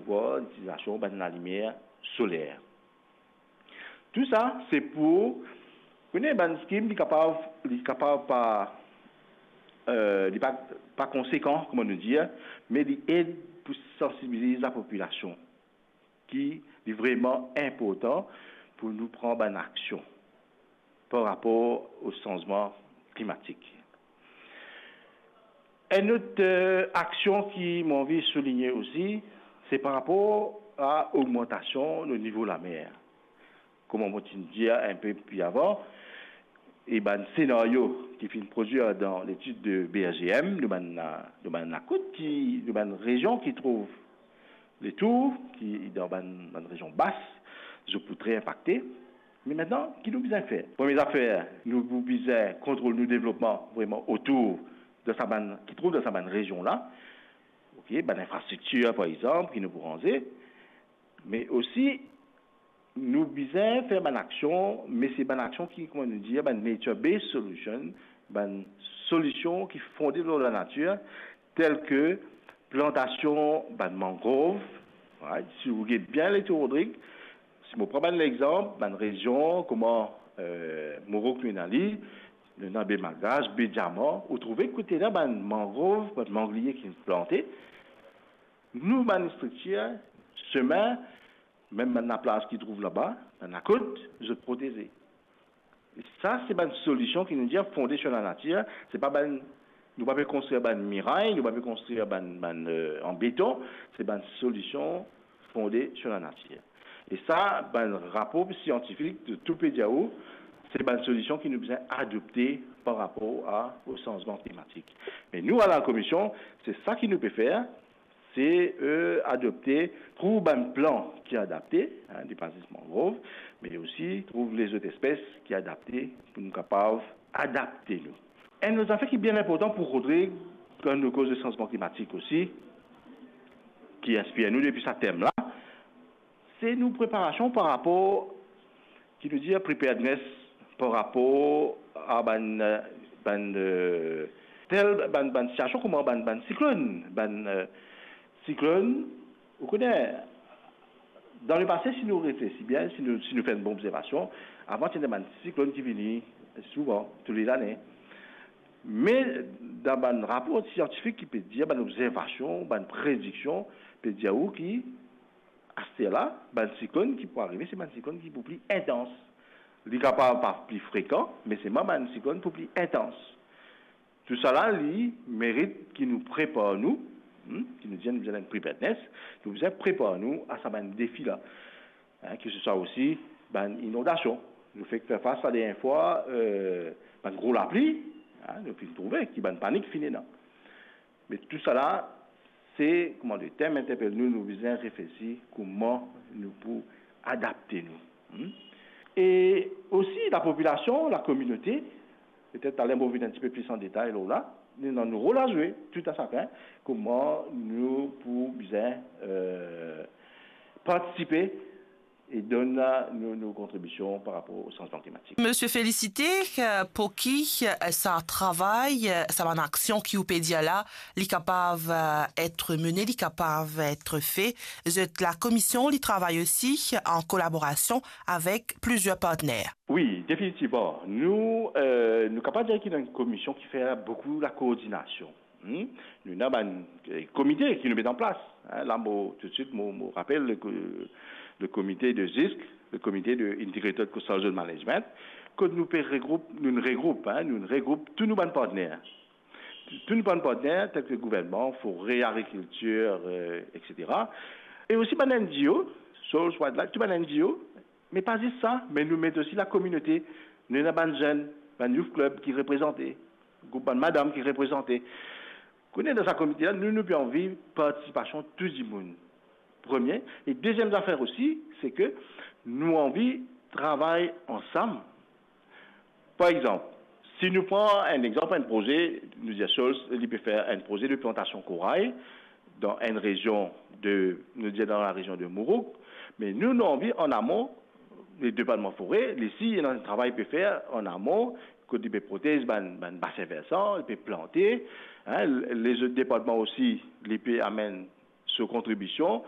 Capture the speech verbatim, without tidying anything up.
par litilizasion bann lalimier soler. Tou sa, se pou, kone bann skim, li kapav, li kapav pa, eh, li pa, pa konsekan, kouma nou dir, me li ed pou sansibiliz lapopilasion, ki li vreman inportan pou nou pran bann aksion par rapor o sanzman klimatik. Enn lot, eh, aksion ki mo anvi souligne osi, se par rapor a ogmantasion nou nivo lamer. Kouma mo ti dir enpe pli avan, e bann senario ki finn prodwir dan letid de B R G M, nou bann, nou bann lakout ki, nou bann rezion ki trouv letour, ki dan bann, bann rezion bas, zot pou tre inpakte. Me aster, ki nou bizin fer? Premie zafer, nou pou bizin kontrol nou devlopman vreman otour de sa bann, ki trouv dan sa bann rezion la. Ok, bann infrastriktir, par exanp, ki nou pou ranze. Me osi, nou bizin fer bann aksion, me se bann aksion ki, kouma nou dir, bann nature-based solution, bann solision ki fonde lor lanatir, tel ke plantasion bann mangrov, right? Si ou get bien letour, Rodrig, si mo pran bann lexanp, bann rezion kouma, eh, Mourouk nou ena li, nou ena Be Malgash, Be Diaman, ou trouve kot ena bann mangrov, bann mangliye ki plante, nou bann striktir, semin, mem bann laplaz ki trouv laba, bann lakot, zot proteze. E sa, se bann solision ki nou dir fonde sur lanatir, se pa bann, nou pa pe konstrir bann miray, nou pa pe konstrir bann, bann, eh, an beton, se bann solision fonde sur lanatir. E sa, bann rapor siantifik de tou pe dir ou, se bann solision ki nou bizin adopte par rapor a, o sanzman klimatik. Me nou, a la Komision, se sa ki nou pe fer, se, eh, adopte, trouv bann plan ki adapte, hein, li pa zis mangrov, me osi trouv lezot espes ki adapte pou nou kapav adapte nou. Enn lot zafer ki bien inportan pou Rodrig, kan nou koz de sanzman klimatik osi, ki inspir nou depi sa tem la, se nou preparasion par rapor ki nou dir preparedness par rapor a bann, eh, bann, eh, tel, bann, bann sitiasion kouma bann, bann siklonn, bann, eh, siklonn, ou kone, dan lepase, si nou reflesi bien, si nou, si nou fer enn bon obzervasion, avan ti ena bann siklonn ki vini souvan, tou le lane. Me dan bann rapor siantifik ki pe dir, bann obzervasion, bann prediksion, pe dir ou ki aster la, bann siklonn ki pou arive, se bann siklonn ki pou pli intans. Li kapav pa pli frekan, me selman bann siklonn pou pli intans. Tousala, li merit ki nou prepar nou, hmm, ki nou dir nou bizin enn preparedness, nou bizin prepar nou a sa bann defi la. Hein, ki se swa osi bann inondasion. Nou fek fer fas la dernie fwa, eh, bann gro lapli, hein, nou finn trouve ki bann panik finn ena. Me tousala, se, kouma le tem interpel nou, nou bizin reflesi kouma nou pou adapte nou. Hmm? E osi lapopilasion, lakominote, petet taler mo vinn enn tipe plis an detay lor la, nou ena nou rol a zwe, tou a sakenn, kouma nou pou bizin, eh, partisipe e donn nou, nou kontribision par rapor o sanzman klimatik. Misie Félicité, eh, pou ki, eh, sa travay, eh, sa bann aksion ki ou pe dir la, li kapav, eh, et mene, li kapav et fe, zot lakomision, li travay osi an kolaborasion avek plizier partner. Wi, definitivman. Nou, eh, nou kapav dir ki nou enn komision ki fer boukou lakoordinasion. Hmm? Nou ena bann, eh, komite ki nou met an plas. Hein, la, mo, toutswit, mo, mo rapel le ko-, le komite de ZISC, le komite de Integrated Coastal Zone Management, kot nou pe regroup, nou regroup, hein, nou regroup tou nou bann partner. Tou nou bann partner, tel ke gouvernman, fore, agrikiltir, eh, et cetera. E osi bann N G O, Soils, Wildlife, tou bann N G O, me pa zis sa, me nou met osi lakominote. Nou ena bann zenn, bann youth club ki reprezante, group bann madam ki reprezante. Kone dan sa komite la, nou, nou pe anvi partisipasion tou dimoun. Premie. E deziem zafer osi, se ke nou anvi travay ansam. Par exanp, si nou pran enn exanp, enn proze, nou dir Soils, li pe fer enn proze de plantasion koray dan enn rezion de, nou dir dan larezion de Mourouk, me nou, nou anvi an amon, le departman fore, li si ena enn travay pe fer an amon, kot li pe protez bann, bann basin versan, li pe plante, hein, lezot departman osi, li pe amenn so kontribision,